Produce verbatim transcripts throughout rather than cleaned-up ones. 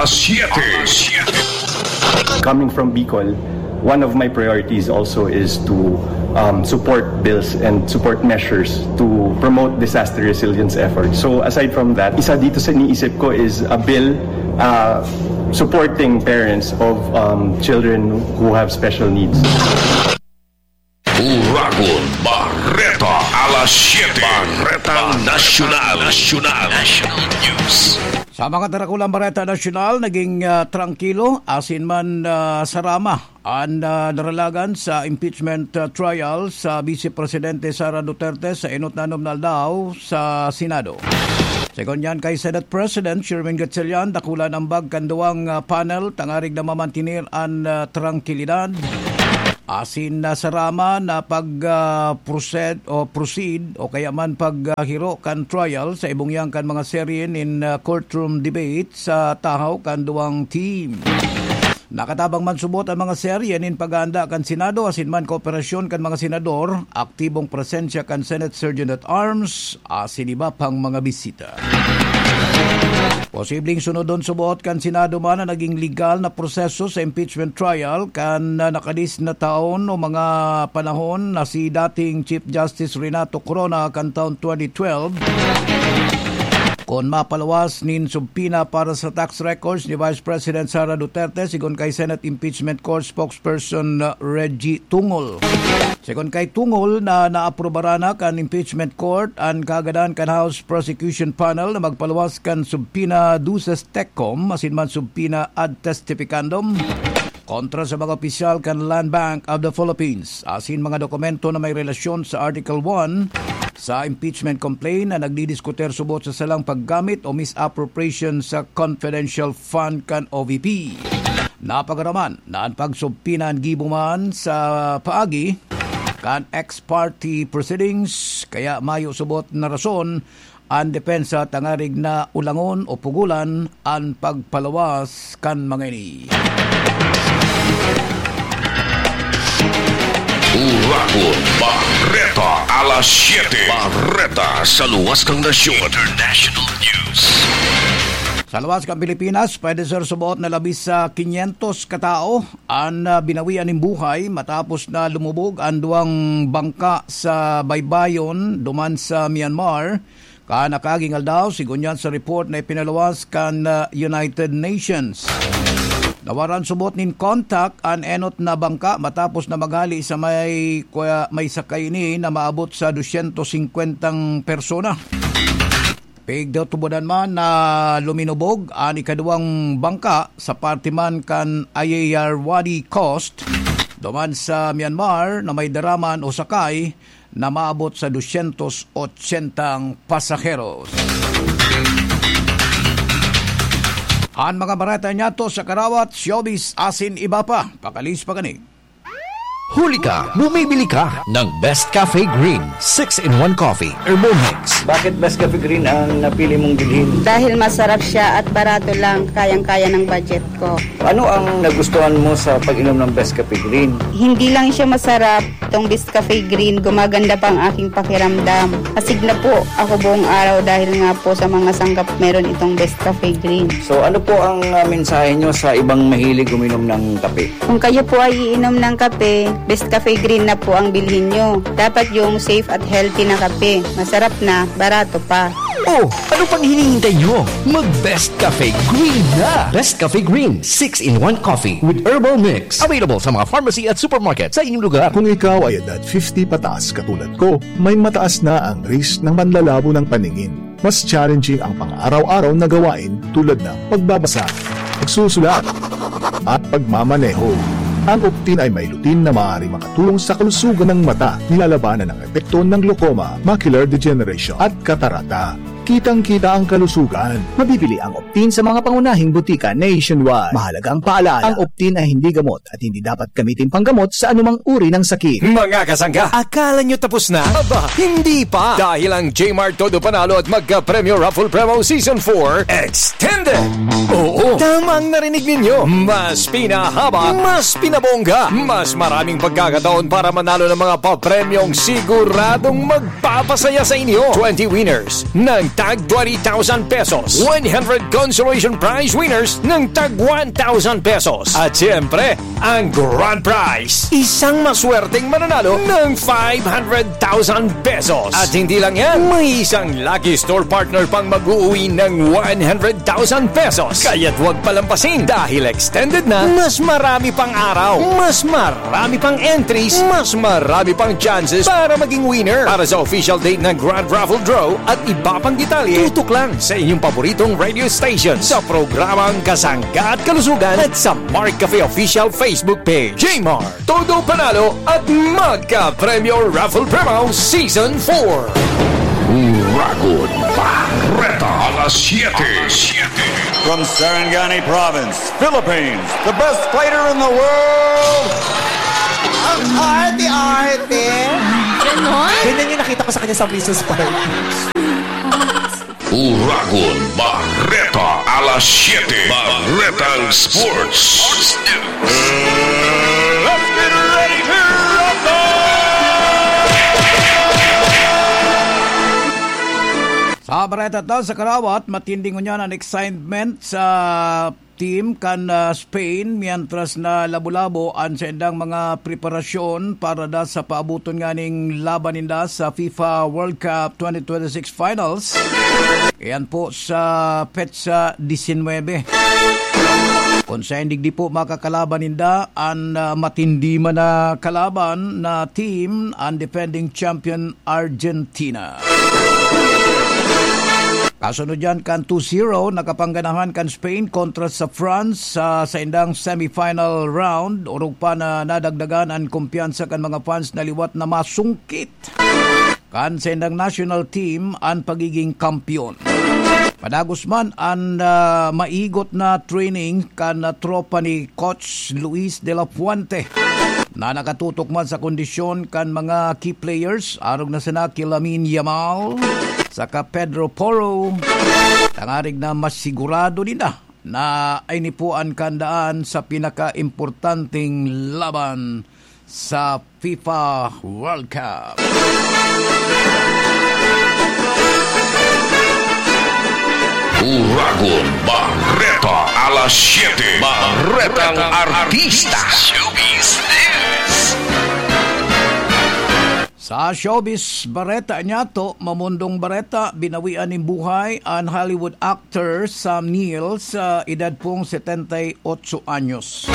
Siete. Coming from Bicol, one of my priorities also is to um, support bills and support measures to promote disaster resilience efforts. So aside from that, isa dito sa iniisip ko is a bill uh, supporting parents of um, children who have special needs. Uragon Bareta, alas siete. Bareta Nasyonal. Nasyonal. National News. Sa mga darakulang bareta nasyonal, naging ah, trangkilo asin man ah, sarama an ah, naralagan sa impeachment ah, trial sa Vice Presidente Sara Duterte sa enot na anom na aldaw sa Senado. Segun yan kay Senate President Sherwin Gatchalian, dakula nambag kan duwang ah, panel tangarig na mamantener an ah, trangkilidad asin nasarama na pag ah, proceed o proceed o kaya man pag ah, hiro kan trial sa ibong yan kan mga serye nin ah, courtroom debate sa tahaw kan duwang team. Nakatabang man subot ang mga serye nin pag-aanda kan Senado asin man kooperasyon kan mga senador, aktibong presensya kan Senate Sergeant at Arms, asin iba pang mga bisita. Posibleng sunodon subot kan Senado man na naging legal na proseso sa impeachment trial kan ah, nakadis na taon o mga panahon na si dating Chief Justice Renato Corona kan taon twenty twelve, kun mapaluwas nin subpoena para sa tax records ni Vice President Sara Duterte, sigon kay Senate Impeachment Court spokesperson ah, Reggie Tungol. Sigon kay Tungol na naaprubaran na kan Impeachment Court an kagadan kan House Prosecution Panel na magpaluwas kan subpoena duces tecum asin man subpoena ad testificandum kontra sa mga opisyal kan Land Bank of the Philippines asin mga dokumento na may relasyon sa Article one sa impeachment complaint na nagdidiskutir subot sa salang paggamit o misappropriation sa confidential fund kan O V P. Napagaraman na an pagsubpoena an gibo man sa paagi kan ex parte proceedings, kaya mayo subot na rason an depensa tangarig na ulangon o pugulan an pagpaluwas kan mga ini. Uragon Bareta, alas siete. Bareta sa luwas kan nasyon. International News. Sa luwas kan Pilipinas, pwede ser subot na labis sa kinyentos katao an ah, binawian nin buhay matapos na lumubog an duwang bangka sa baybayon duman sa Myanmar kan nakaaging aldaw, sigon yan sa report na ipinaluwas kan ah, United Nations. Nawaran subot nin kontak an enot na bangka matapos na maghali sa may, kwa-, may sakay ini na maabot sa dosyentos singkwentang persona. Pigtutubodan man na luminubog an ikaduwang bangka sa parte man kan Ayeyarwady Coast, duman sa Myanmar na may daraman o sakay na maabot sa dosyentos otsentang pasaheros. An mga bareta niyato sa karawat, showbiz asin iba pa. Pakalis pa kani. Huli ka, bumibili ka ng Best Cafe Green six-in-one Coffee Herbal Mix. Bakit Best Cafe Green ang napili mong bilhin? Dahil masarap siya at barato lang, kayang-kaya ng budget ko. Ano ang nagustuhan mo sa pag-inom ng Best Cafe Green? Hindi lang siya masarap, itong Best Cafe Green, gumaganda pa ang aking pakiramdam. Asig na po ako buong araw dahil nga po sa mga sangkap meron itong Best Cafe Green. So ano po ang ah, mensahe nyo sa ibang mahilig uminom ng kape? Kung kayo po ay iinom ng kape, Best Cafe Green na po ang bilhin nyo. Dapat yung safe at healthy na kape. Masarap na, barato pa. Oh, ano pang hinihintay nyo? Mag Best Cafe Green na! Best Cafe Green six-in-one Coffee with Herbal Mix. Available sa mga pharmacy at supermarket sa inyong lugar. Kung ikaw ay edad fifty pataas katulad ko, may mataas na ang risk ng panlalabo ng paningin. Mas challenging ang pang-araw-araw na gawain tulad ng pagbabasa, pagsusulat, at pagmamaneho. Ang Optin ay may lutein na maaaring makatulong sa kalusugan ng mata, nilalabanan ang epekto ng glaucoma, macular degeneration, at katarata. Kitang-kita ang kalusugan. Mabibili ang Optin sa mga pangunahing butika nationwide. Mahalaga ang paalala, ang Optin ay hindi gamot at hindi dapat gamitin panggamot sa anumang uri ng sakit. Mga kasangga, akala nyo tapos na? Aba, hindi pa! Dahil ang J-Mart Todo Panalo at Magka-Premyo Raffle Promo Season four Extended! Oo, tama ang narinig ninyo! Mas pinahaba, mas pinabongga, mas maraming pagkakataon para manalo ng mga papremyong siguradong magpapasaya sa inyo. Twenty winners ng tag twenty thousand pesos. One hundred consolation prize winners ng tag one thousand pesos. At siyempre, ang grand prize, isang maswerteng mananalo ng five hundred thousand pesos. At hindi lang yan, may isang lucky store partner pang mag-uwi ng one hundred thousand pesos. Kaya't huwag palampasin dahil extended na, mas marami pang araw, mas marami pang entries, mas marami pang chances para maging winner. Para sa official date ng Grand Raffle Draw at iba pang detalye, tutok lang sa inyong paboritong radio station sa programang Kasangga at Kalusugan at sa Mark Cafe Official Facebook Page. J-Mart, todo panalo at magka-premyo Raffle Promo Season four. Uragon Barreta, alas siyete. From Sarangani Province, Philippines, the best fighter in the world. Ang arte-arte. Ganon? Ganyan yung nakita ko sa kanya sa Missus Park. Uragon Barreta, alas siyete. Barretang Sports. Let's get ready to rumble! Sa bareta ta sa karawat, matinding ngunyan an excitement sa team kan, ah, Spain, mientras na labo-labo an saindang mga preparasyon para da sa paaboton nganing laban ninda sa FIFA World Cup twenty twenty-six Finals. Iyan po sa petsa disinwebe. Kung sa hindi po makakalaban ninda, an, ah, matindi man na kalaban na team, ang defending champion Argentina. Kasunod yan kan two zero, nakapangganahan kan Spain kontra sa France sa saindang semifinal round. Orog pa na nadagdagan an kumpiyansa kan mga fans na liwat na masungkit kan saindang national team an pagiging kampiyon. Madagos man an, ah, maigot na training kan, ah, tropa ni Coach Luis de la Fuente, na nakatutok man sa kondisyon kan mga key players, arog na sana ki Lamine Yamal saka Pedro Porro, tangarig na masigurado ninda na ay nipuan kan daan sa pinakaimportanteng laban sa FIFA World Cup. Uragon Barreta, alas siyete. Barretang Artista. Showbiz News. Sa showbiz bareta niyato, Mamundong Bareta, binawian nin buhay an Hollywood actor Sam Neill sa edad pong setenta y ocho anyos.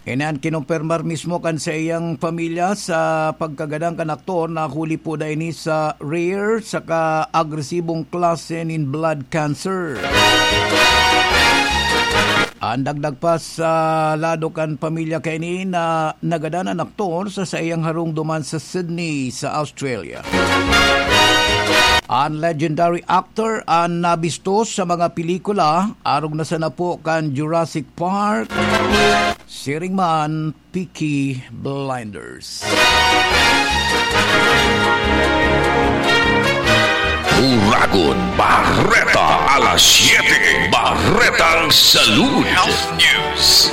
Ini an kinumpirmar mismo kan saiyang pamilya sa pagkagadan kan aktor na huli po da ini sa rare saka agresibong klase nin blood cancer. An dagdag pa sa lado kan pamilya kaini na nagadan an aktor sa saiyang harong duman sa Sydney, sa Australia. An legendary actor an nabistos sa mga pelikula, arog na sana po kan Jurassic Park, siring man Peaky Blinders. Uragon Barreta, alas siyete, Barretang Salud. Health News.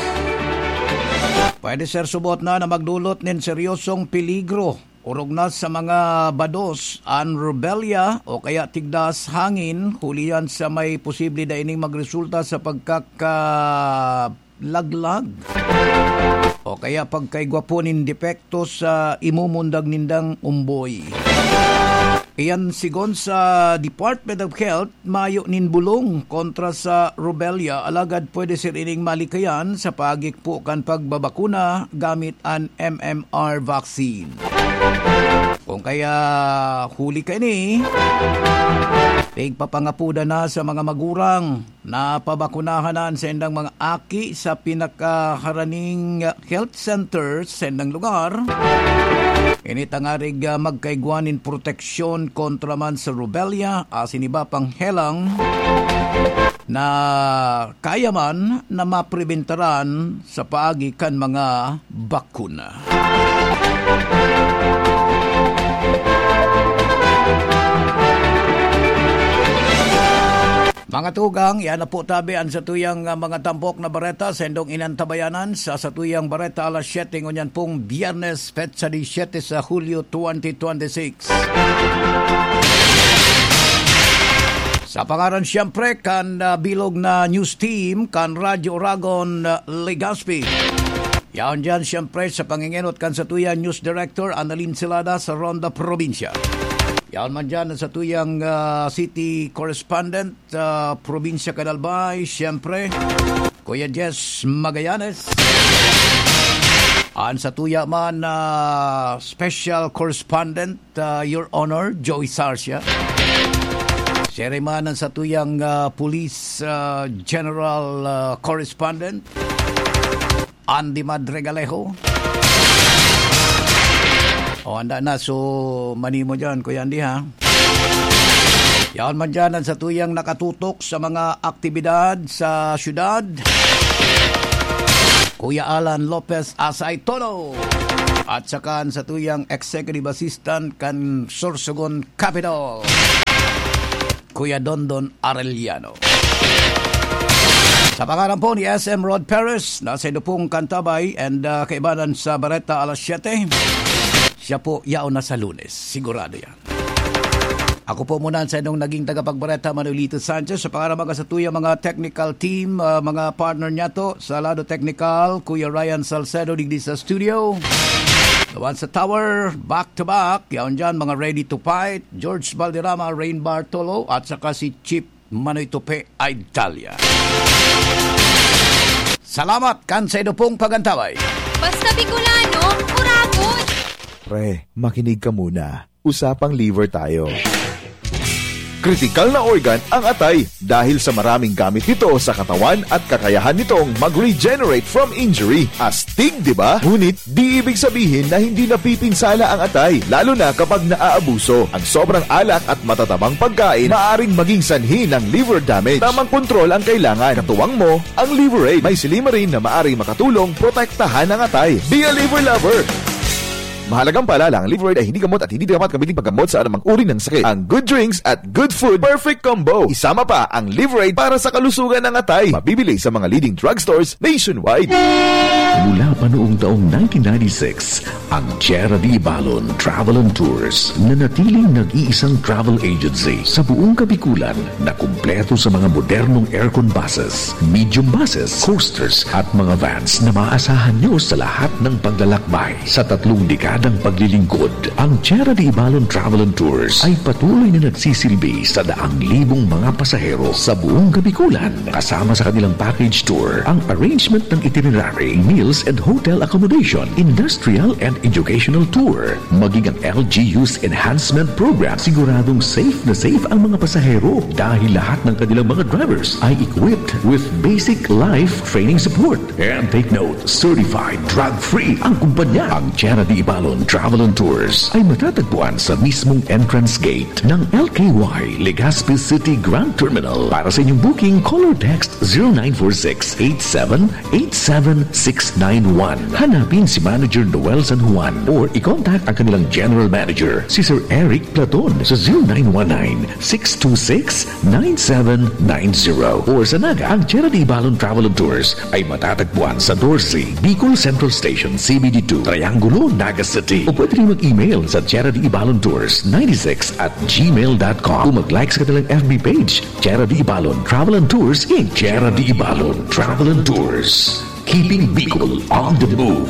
Pwede, sir, subot na na magdulot nin seryosong peligro. Orog na sa mga bados, an rubella o kaya tigdas hangin, huli yan sa may posible da ining magresulta sa pagkakalaglag o kaya pagkaigwa po nin depekto sa imumundag nindang umboy. Iyan sigon sa Department of Health, mayo nin bulong kontra sa rubella, alagad pwede sir ining malikayan sa paagi po kan pagbabakuna gamit an M M R vaccine. Kung kaya huli kaini, pigpapangapodan na sa mga magurang na pabakunahan na an saindang mga aki sa pinakaharaning health center sa saindang lugar. Ini tangarig, ah, magkaigwa nin proteksyon kontra man sa rubella asin iba pang helang na kaya man na mapribentaran sa paagi kan mga bakuna. Mga tugang, yan na po tabi an satuyang, ah, mga tampok na bareta sa indong inantabayanan sa satuyang bareta alas siyete ngunyan pong Biyernes, petsa disiyete sa Hulyo twenty twenty-six. Sa pangaran siyempre kan, ah, bilog na news team kan Radyo Oragon, ah, Legazpi. Yaon diyan siyempre sa pangingenot kan satuyang news director Annalyn Celada sa Ronda Probinsya. Yaon man diyan ang satuyang, ah, city correspondent, ah, Probinsya kan Albay, siyempre, Kuya Jess Magallanes. An satuya man na special correspondent, ah, Your Honor, Joey Sarcia. Siya rin man ang satuyang, ah, police, ah, general, ah, correspondent, Andy Madregalejo. O, handa na. So, manimo dyan, Kuya Andy, ha? Yaon man dyan ang satuyang nakatutok sa mga aktibidad sa syudad, Kuya Alan Lopez Asay Todo. At saka ang satuyang executive assistant kan Sorsogon Capital, Kuya Dondon Arellano. Sa pangalan po ni S M Rod Perez, nasa indo pong kantabay and, ah, kaibanan sa Bareta alas siyete. Siya po, yaon na sa Lunes. Sigurado yan. Ako po muna ang sa inyong naging tagapagbareta, Manolito Sanchez. Sa pangalan mga satuyang mga technical team, ah, mga partner niya to, sa lado technical, Kuya Ryan Salcedo, digdi sa studio. Gawan sa tower, back to back. Yaon dyan, mga ready to fight. George Valderrama, Rain Bartolo, at saka si Chief Manoy Tupe Aidalya. Salamat kan sa indo pong pagantabay. Basta Bicolano, kurapon! Pre, makinig ka muna. Usapang liver tayo. Kritikal na organ ang atay dahil sa maraming gamit nito sa katawan at kakayahan nitong mag-regenerate from injury. Astig, di ba? Ngunit, di ibig sabihin na hindi napipinsala ang atay, lalo na kapag naaabuso. Ang sobrang alak at matatabang pagkain maaring maging sanhi ng liver damage. Tamang kontrol ang kailangan. Katuwang mo ang Liver Aid. May silymarin na maaring makatulong protektahan ang atay. Be a liver lover! Mahalagang paalala, ang Liver Aid ay hindi gamot at hindi dapat gamitin paggamot sa anumang uri ng sakit. Ang good drinks at good food, perfect combo. Isama pa ang Liver Aid para sa kalusugan ng atay. Mabibili sa mga leading drugstores nationwide. Mula pa noong taong nineteen ninety-six, ang Tierra de Ibalon Travel and Tours, nanatiling nag-iisang travel agency sa buong Kabikulan na kumpleto sa mga modernong aircon buses, medium buses, coasters at mga vans na maaasahan nyo sa lahat ng paglalakbay. Sa tatlong dekadang paglilingkod, ang Tierra de Ibalon Travel and Tours ay patuloy na nagsisilbi sa daang libong mga pasahero sa buong Kabikulan. Kasama sa kanilang package tour ang arrangement ng itinerary, meals and hotel accommodation, industrial and educational tour, maging ang L G U's enhancement program. Siguradong safe na safe ang mga pasahero dahil lahat ng kanilang mga drivers ay equipped with basic life training support. And take note, certified drug-free ang kumpanya. Ang Tierra de Ibalon Travel and Tours ay matatagpuan sa mismong entrance gate ng L K Y Legazpi City Grand Terminal. Para sa inyong booking, call or text zero nine four six eight seven eight seven six nine one. Hanapin si Manager Noel San Juan or i-contact ang kanilang General Manager, si Sir Eric Platon, sa zero nine one nine six two six nine seven nine zero. Or sa Naga, ang Tierra de Ibalon Travel and Tours ay matatagpuan sa doce Bicol Central Station, C B D two, Triangulo, Naga City. O pwede rin mag-email sa Tierra de Ibalon Tours ninety-six at gmail dot com o mag-like sa kanilang F B page, Tierra de Ibalon Travel and Tours, Inc. Tierra de Ibalon Travel and Tours. Keeping Bicol on the move.